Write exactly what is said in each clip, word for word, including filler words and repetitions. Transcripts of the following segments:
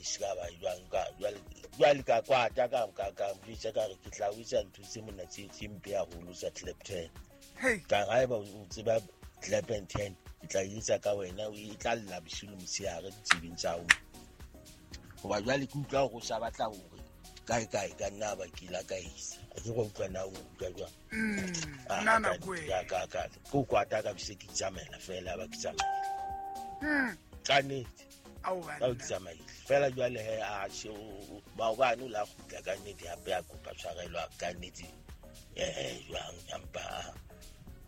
se ka ba jwang ka jwale jwale ka kwata ka ka ka mjwetsa ka re ke tla o etsa ntho tse mona tse tse mpe haholo tsa Clapton. Ka haeba o tseba Clapton ten ke tla etsa ka wena o e tla lla bosiu le motshehare ditsebeng tsa hao. Hoba jwale ke utlwa hore o sa batla hore kae kae ka nna ba ke la ka isa. A ke go utlwa na o utlwa jwang? Mm, nna nako e. Ka ka ka ko kwata ka bese ke tsamaela fela ba ke tsamaela. Mm. Ka nnete. Ao Ka banna. ke tsamaile. Fela jwale he a she o maobane o la kgutla ka nnete hape a kopa tshwarelo ka nnete. Eh jwang empa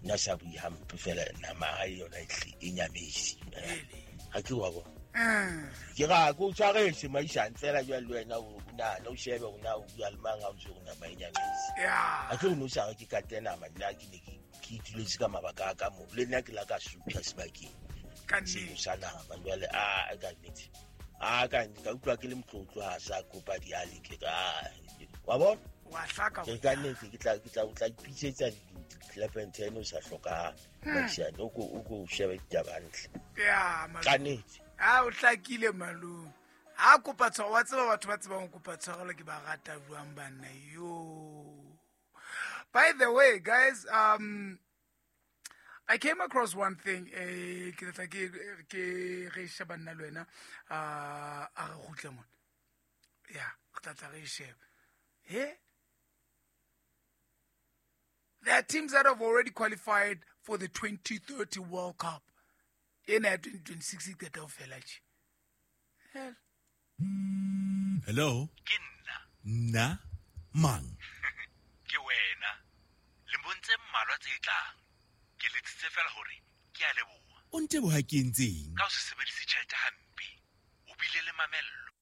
nna sa bue hampe fela nama ha yona e tle e nyamisi. Ha ke wa bona. Mm. Ke ra ko tshwaretse maishane fela jwale le wena o nahana o shebe o na o bua le mang ha o ntse o nama e nyamisi. Yeah. Ha ke o no sa re ke kate nama nna ke ne ke ke ituletse ka mabaka a ka moo le nna ke la ka sutha sebakeng. Ka Seno nnete. sa nama jwale a ka nnete. A ka nnete ka utlwa ke le motlotlo ha sa kopa diale ke ka wa bona? Wa hlaka Ke ka nnete ke tla ke tla o tla ipitsetsa di-Clapton ten o sa hlokahale. Hmm. Maishane o ko o ko shebe ditaba hantle. Yeah, malome. Ka nnete. Ha o hlakile malome. Ha kopa tshwarelo, wa tseba batho ba tsebang ho kopa tshwarelo ke ba rata jwang banna yo. By the way, guys, um, I came across one thing, eh, ke tla ke ke re sheba nna le wena, ah, a re kgutle mona. Yeah, re tla tla re e sheba. He? There are teams that have already qualified for the twenty thirty World Cup. Ena ya twenty twenty-six e qeta ho fela tje. Hell. Hello? Ke nna. Nna? Mang? Ke wena. Lemong tse mmalwa tse tlang. Ke letsitse fela hore ke a leboha. O nteboha ke entseng? Ka ho se sebedise tjhelete hampe, o bile le mamello.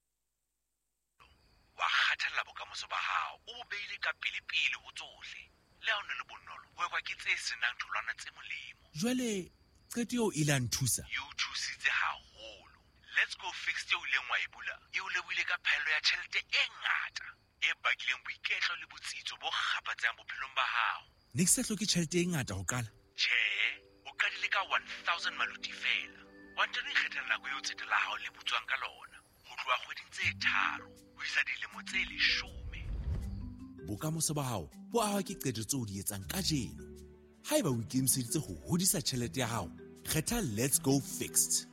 Wa kgathalla bokamoso ba hao, o bo beile ka pele-pele ho tsohle. Le ha o ne le bonolo, ho ekwa ke tse senang tholwana tse molemo. Jwale qeto eo e la nthusa? E o thusitse haholo. Let's go fix eo ileng wa e bula, e o lebohile ka phaello ya tjhelete e ngata, e bakileng boiketlo le botsitso bo kgapatsehang bophelong ba hao. Ne ke sa hloke tjhelete e ngata ho qala? Tjhe, o qadile ka one thousand maluti fela. Wa ntano ikgethela nako eo tsete la hao le butswang ka lona, ho tloha kgweding tse tharo ho isa dilemo tse leshome. Bokamoso ba hao bo ahwa ke qeto tseo o di etsang kajeno. Haeba o ikemiseditse ho hodisa tjhelete ya hao, kgetha Let's Go Fixed.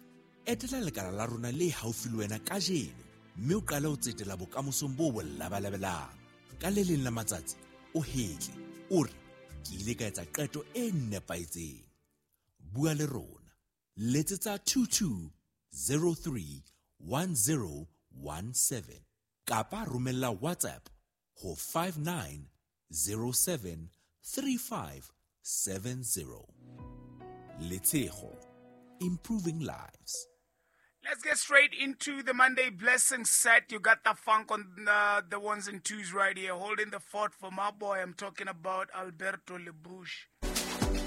Etela lekala la rona le haufi le wena kajeno mme o qale ho tsetela bokamosong bo bo labalabelang. Ka le leng la matsatsi o hetle, o re ke ile ka etsa qeto e nepahetseng. Bua le rona. Letsetsa two two zero three one zero one seven kapa romella WhatsApp ho five nine zero seven three five seven zero. Letshego, improving lives. Let's get straight into the Monday blessing set. You got the funk on the, the ones and twos right here. Holding the fort for my boy. I'm talking about Alberto Lebush.